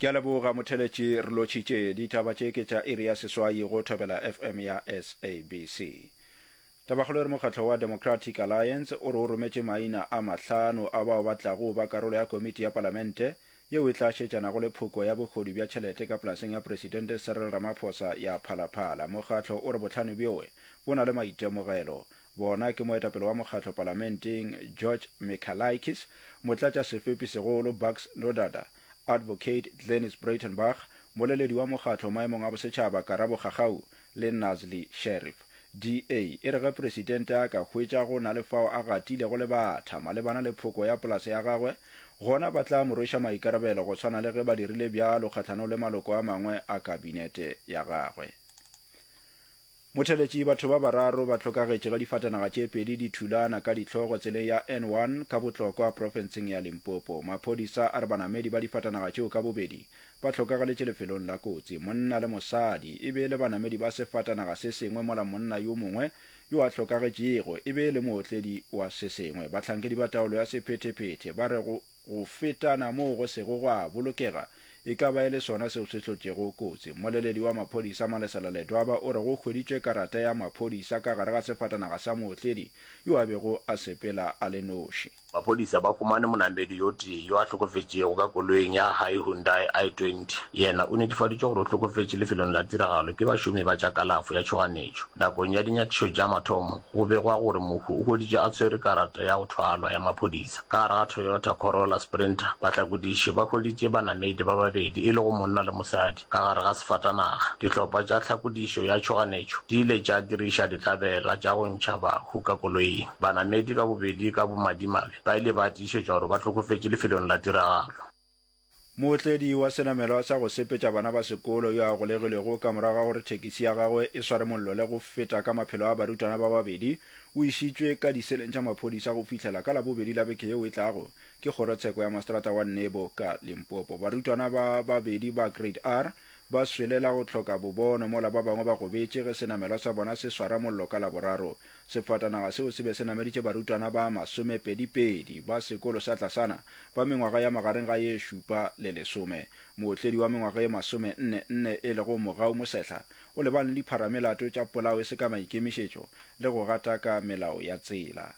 Ke a leboga motheletši re lotšhitše. Ditaba tše ke tša iri ya seswai go Thobela FM ya SABC. Tabakgolo e re mokgatlo wa Democratic Alliance o re o rometše maina a mahlano a bao ba tlago ba karolo ya komiti ya palamente yeo e tla šetšanago le phoko ya bohodu bja tšhelete ka polaseng ya Presidente Cyril Ramaphosa ya Phalaphala. Mokgatlo o re bohlano bjoe bo na le maitemogelo. Bona ke moetapele wa mokgatlo palamenteng George Michalakis, motlatšasefepi segolo Bucks Nodada, Advocate Glynnis Breytenbach, moleledi wa mokgatlo maemong a bosetšhaba Karabo Kgakgau le Nazli Sherif. DA e re ge presidente a ka hwetša go na le fao a gatilego lebatha malebana le phoko ya polase ya gagwe, gona ba tla mo rweša maikarabelo go swana le ge ba dirile bjalo kgahlanong le maloko a mangwe a kabinete ya gagwe. Motheletši, Batho ba bararo ba hlokagetše ge difatanaga tše pedi di thulana ka dihlogo tseleng ya N1 ka Botlokwa profenseng ya Limpopo. Maphodisa a re banamedi ba difatanaga tšeo ka bobedi ba hlokagaletše lefelong la kotsi. Monna le mosadi e be e le banamedi ba sefatanaga se sengwe mola monna yo mongwe yo a hlokagetšego e be e le mootledi wa se sengwe. Bahlankedi ba taolo ya sephethephethe ba re go Go fetana moo go sego gwa bolokega e ka ba e le sona seo se hlotšego kotsi. Mmoleledi wa maphodisa Malesela Ledwaba o re go hweditšwe karata ya maphodisa ka gare ga sefatanaga sa mootledi yo a bego a sepela a le noši. Maphodisa ba humane monamedi yo tee yo a hlokofetšego ka koloing ya Hyundai i20. Yena o netefaditšwe gore o hlokofetše lefelong la tiragalo ke bašomi ba tša kalafo ya tšhoganetšo. Nakong ya dinyakišo tša mathomo, go begwa gore mohu o hweditšwe a tshwere karata ya go thwalwa ya maphodisa. Ka gare ga Toyota Corolla Sprinter, bahlakodiši ba hweditše banamedi ba babedi e lego monna le mosadi ka gare ga sefatanaga. Dihlopha tša tlhakodišo ya tšhoganetšo di ile tša diriša ditlabela tša go ntšha bahu ka koloing. Banamedi ka bobedi ka bomadimabe ba ile ba tiišetšwa gore ba hlokofetše lefelong la tiragalo. Mootledi wa senamelwa sa go sepetša bana ba sekolo yo a golegilwego ka morago ga gore thekisi ya gagwe e sware mollo le go feta ka maphelo a barutwana ba babedi o išitšwe ka diseleng tša maphodisa go fihlela ka Labobedi la beke yeo e tlago ke kgorotsheko ya maseterata wa Nebo ka Limpopo. Barutwana ba babedi ba Grade R ba swele la go hloka bobono mola ba bangwe ba gobetše ge senamelwa sa bona se swara mollo ka Laboraro. Sefatanaga seo se be se nameditše barutwana ba masomepedipedi ba sekolo sa tlasana ba mengwaga ya magareng ga ye šupa le lesome. Mootledi wa mengwaga ye masomenne nne e lego Mogau Mosehla o lebane le dipharamelato tša polao e se ka maikemišetšo le go gataka melao ya tsela.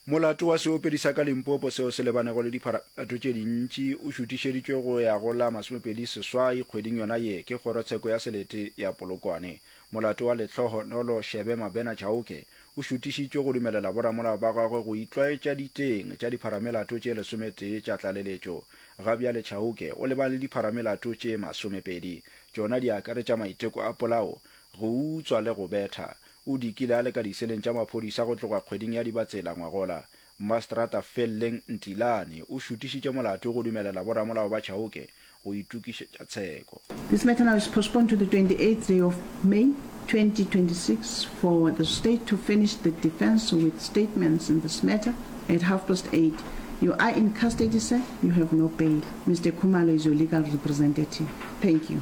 Molato wa seopedi sa ka Limpopo seo se lebanego le dipharamelato tše dintši o šutišeditšwe go ya go la 28 kgweding yona ye ke kgorotsheko ya selete ya Polokwane. Molato wa Lehlohonolo Shebe Mabena Chauke o šutišitšwe go dumelela boramolao ba gagwe go itlwaetša diteng tša dipharamelato tše lesometee tša tlaleletšo. Ga bjale Chauke o lebane le dipharamelato tše masomepedi. Tšona di akaretša maiteko a polao, go utswa le go betha. O dikile a le ka diseleng tša maphodisa go tloga kgweding ya Dibatsela ngwagola. Mmaseterata Felleng Ntilane o šutišitše molato go dumelela boramolao ba Chauke go itokišetša tsheko. This matter now is postponed to the 28th day of May 2026 for the state to finish the defence with statements in this matter at half past 8. You are in custody sir, you have no bail. Mister Khumalo is your legal representative. Thank you.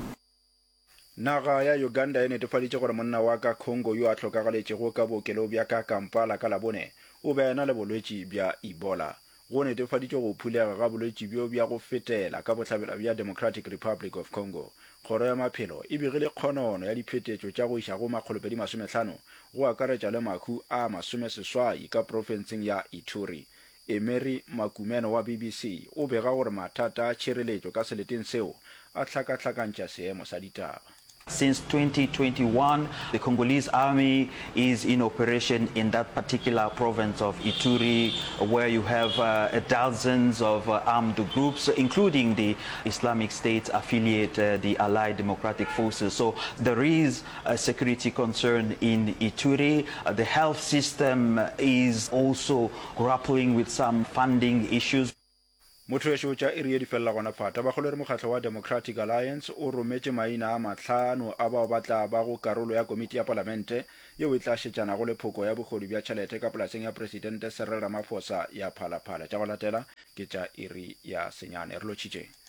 Naga ya Uganda e netefaditše gore monna wa ka Congo yo a hlokagaletšego ka bookelong bja ka Kampala ka Labone o be a ena le bolwetši bja Ebola. Go netefaditšwe go phulega ga bolwetši bjo bja go fetela ka bohlabela bja Democratic Republic of Congo. Kgoro ya Maphelo e begile kgonono ya diphetetšo tša go iša go makgolopedimasomehlano go akaretša le mahu a masomeseswai ka profenseng ya Ituri. Emery Makumeno wa BBC o bega gore mathata a tšhireletšo ka seleteng seo a hlakahlakantšha seemo sa ditaba. Since 2021, the Congolese army is in operation in that particular province of Ituri, where you have uh, dozens of uh, armed groups, including the Islamic State affiliate, uh, the Allied Democratic Forces. So there is a security concern in Ituri. Uh, the health system is also grappling with some funding issues. Motho wešo tša iri ye di felela gona fa. Tabakgolo e re mokgatlo wa Democratic Alliance o rometše maina a mahlano a bao ba tla bago karolo ya komiti ya palamente yeo e tla šetšanago le phoko ya bohodu bja tšhelete ka polaseng ya Presidente Cyril Ramaphosa ya Phala Phala. Tša go latela ke tša iri ya senyane. Re lotšhitše.